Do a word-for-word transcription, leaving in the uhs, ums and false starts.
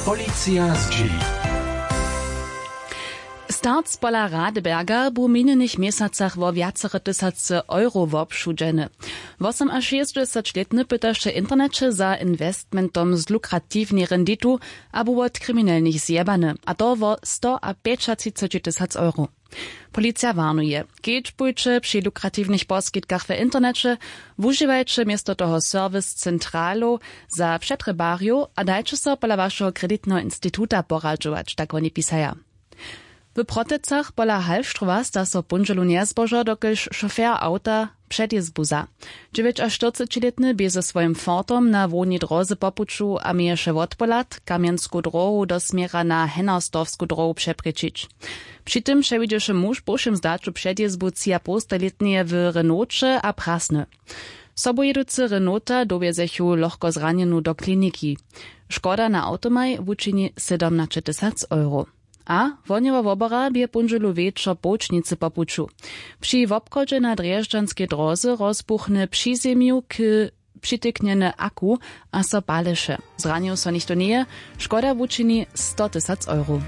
Policija zdźěli. Starc pola Radeberga bu w minjenych měsacach wo wjacore tysace euro wobšudźeny. Wosomašěsćdźesaćlětny pytaše w interneće za investmentom z lukratiwnej renditu abo wot kriminelnych zjebany, a to wo sto a pjećatřiceći tysac euro. Policija warnuje: Kedźbujće při lukratiwnych poskitkach w interneće, wužiwajće město toho serwis centralow za přetrjebarjow a dajće so pola wašeho kreditneho instituta poradźować, tak woni pisaja. W Protecach pola Hallstrowa sta so w póndźelu njezbožo, dokelž šofer awta předjězbu za dźewjećaštyrcećilětny bě ze swojim Fordom na hłownej dróze po puću a měješe wotpohlad, kamjensku dróhu do směra na hennersdorfsku dróhu přeprěčić. Při tym přewidźeše muž w połšim zdaću předjězbu třiapołstajlětneje w Renaulće a prasny. Sobujěducy Renaulta dowjezechu lochko zranjenu do kliniki. Škoda na awtomaj wučini sydomnaćetysac euro. A wohnjeho wobora bě póndźelu wječor połčnicy po puću. Při wobchodźe na drježdźanskej dróze rozbuchny při zemju k přityknjeny aku a so paleše. Zranił so něchtó njeje. Škoda wučini sto tysac euro.